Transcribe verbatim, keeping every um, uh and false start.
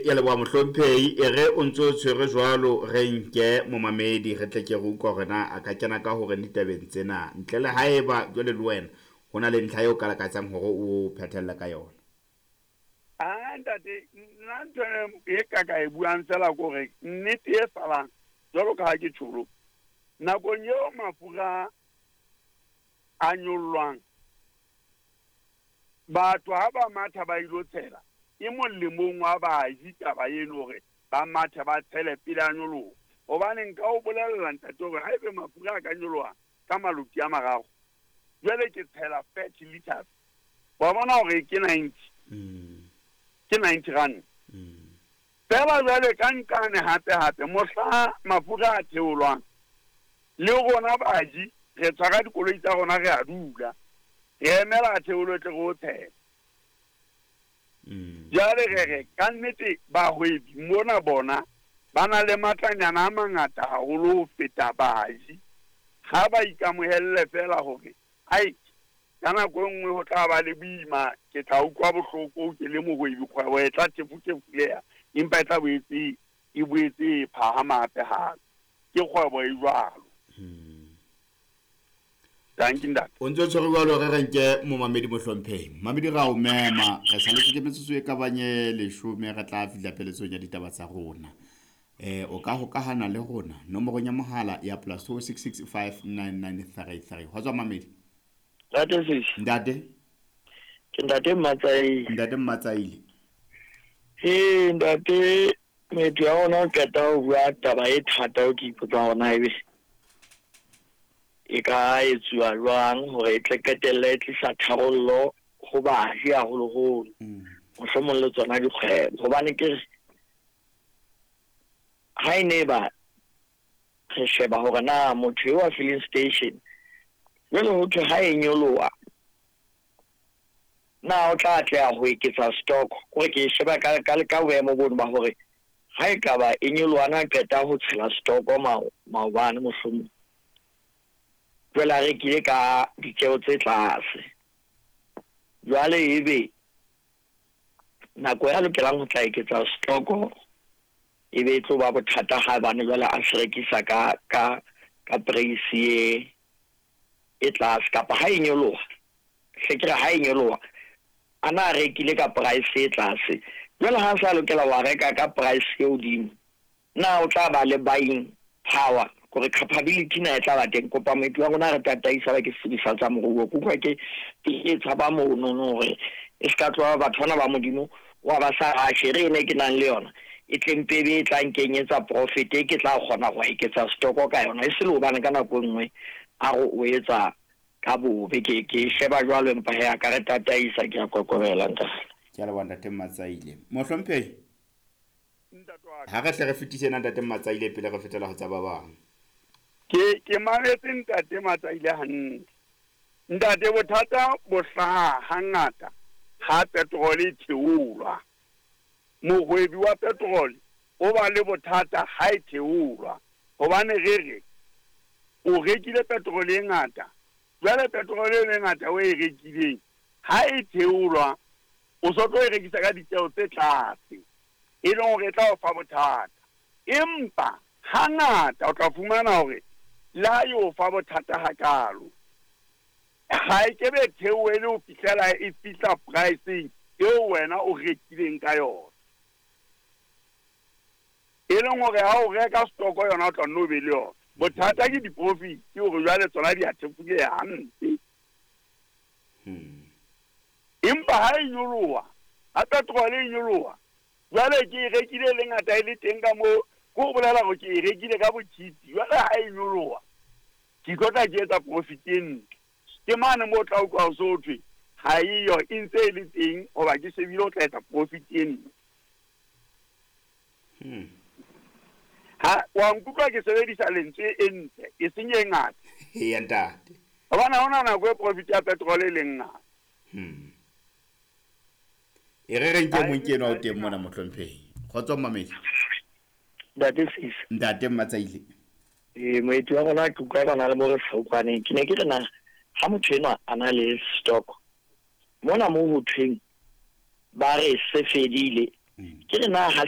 Ya leboha mohlomphehi. E re o ntso tshwere jwalo, re nke momamedi re tle ke re utlwa hore na a ka kena ka hore ditabeng tsena, ntle le haeba jwale le wena ho na le ntlha eo ka lakatsang hore o phethelle ka yona. A ntate, nna ntho e ka ka e buang fela ke hore nnete e salang jwalo ka ha ke tjholo, nakong eo mafura a nyollwang, batho ha ba matha ba ilo tshela, e molemong wa baji taba eno hore ba mathe ba tshele pele a nyoloha. Hobane nka o bolella ntate hore haebe mafura a ka nyoloha ka maloti a mararo, jwale ke tshela thirty liters, wa bona hore ke ninety, ke ninety rand. Fela jwale ka nkane hape hape mohla mafura a theolwang, le rona baji re tshwara dikoloi tsa rona re a dula, re emela a theolwe tle re o tshela. Jwale re re ka nnete bahwebi mona bona ba na le matlanyana a mangata haholo ho feta baji. Ha ba ikamohelle fela hore ai ka nako e nngwe ho tla ba le boima, ke tla utlwa bohloko ke le mohwebi, kgwebo e tla tefutefuleha, empa e tla boetse e boetse e phahama hape hape. Ke kgwebo e jwalo. Thank you, ntate. O ntso tshwere jwalo, re re nke momamedi mohlomphehi. Mamedi ra o mema, re saletse ke metsotso e ka bang e leshome, re tla fihla pheletsong ya ditaba tsa rona. Eh o ka hokahana le rona nomorong ya mohala ya plus two six six five nine nine three three. Hwa tswa mamedi. Ntate Sisi. Ntate. Ke ntate Mmatsaile. Ntate Mmatsaile. Eh ntate, metho ya rona o qeta ho bua taba e thata o ke ipotsa hore na ebe e ka etsuwa jwang hore e tle qetelle e tlisa tharollo ho baji haholoholo, mohlomong le tsona dikgwebo. Hobane ke re ha e ne ba re sheba hore na motho eo wa filling station jwale ho thwe ha e nyoloha na o tla atleha ho eketsa stock, hore ke e sheba ka, ka, ka boemo bono ba hore ha e ka ba e nyoloha na qeta ho tshela stock mao-, maobane mohlomong, jwale a rekile ka ditjeo tse tlase, jwale ebe nako ya lokelang ho tla eketsa stock e be e tlo ba bothata ha bane jwale a se rekisa ka, ka, ka price e, e tlase, kapa ha e nyoloha, hle ke re ha e nyoloha a na rekile ka price e tlase, jwale ha sa lokela wa reka ka price e hodimo, na o tla ba le buying power, hore capability na e tla ba teng. Kopa moeti wa rona re tataisa ba ke sebedisa tsa moruo, ke utlwa ke, ke e tshaba mono no hore e ska tloha batho bana ba Modimo wa ba sa rashe re ene ke nang le yona e tleng pebe e tla nkenyetsa profit e ke tla kgona ho eketsa stock ka yona, e se le hobane ka nako e nngwe a re o etsa ka bobe. Ke, ke sheba jwalo empa he a ka re tataisa, ke a kokobela ntate. Ke a leboha ntate Mmatsaile. Mohlomphehi, Ntate wa ka. ha re hle re fetise na ntate Mmatsaile pele re fetela ho tsa ba bang. Ke, ke mametse ntate Mmatsaile hantle. Ntate, bothata bo hlaha hangata ha petrol e theolwa. Mohwebi wa petrol o ba le bothata ha e theolwa, hobane re re o rekile petrol e ngata, jwale petrol e ngata o e rekileng ha e theolwa o so tlo e rekisa ka ditjeo tse tlase, e leng hore e tla o fa bothata. Empa hangata o tla fumana hore le ha e o fa bothata hakalo, ha e kebe theohele ho fihlela e fihla pricing eo wena o rekileng ka yona, e leng hore ha o reka stock yona o tla nno be le yona. Bothata ke di-profit, ke hore jwale tsona di a thefuleha hampe. Empa ha e nyoloha, ha petrol e nyoloha, jwale ke e rekile le ngata e le teng ka moo, ke ho bolela hore ke e rekile ka botjhitsi. Jwale ha e nyoloha, ke tlo tla ke etsa profit e ntle. Ke mane moo o tla utlwa ho so thwe ha eyo, e ntse e le teng hoba ke shebile o tla etsa profit e ntle. Hmm. Ha wa nkutlwa ke sebedisa lentswe e ntle, e seng e ngata. Eya ntate. Hobane ha hona nako e profit ya petrol e leng ngata. Hmm. E re re nke Ha e mong ke enwa o ha e teng mona ngata. mohlomphehi. Kgotso mmamedi. Ntate Sisi. Ntate Mmatsaile. Eh, moeti wa rona ke utlwa ba na le mo re sa utlwaneng. Ke ne ke re na ha motho enwa a na le stock mona moo ho thweng ba re se fedile, Mm. ke re na ha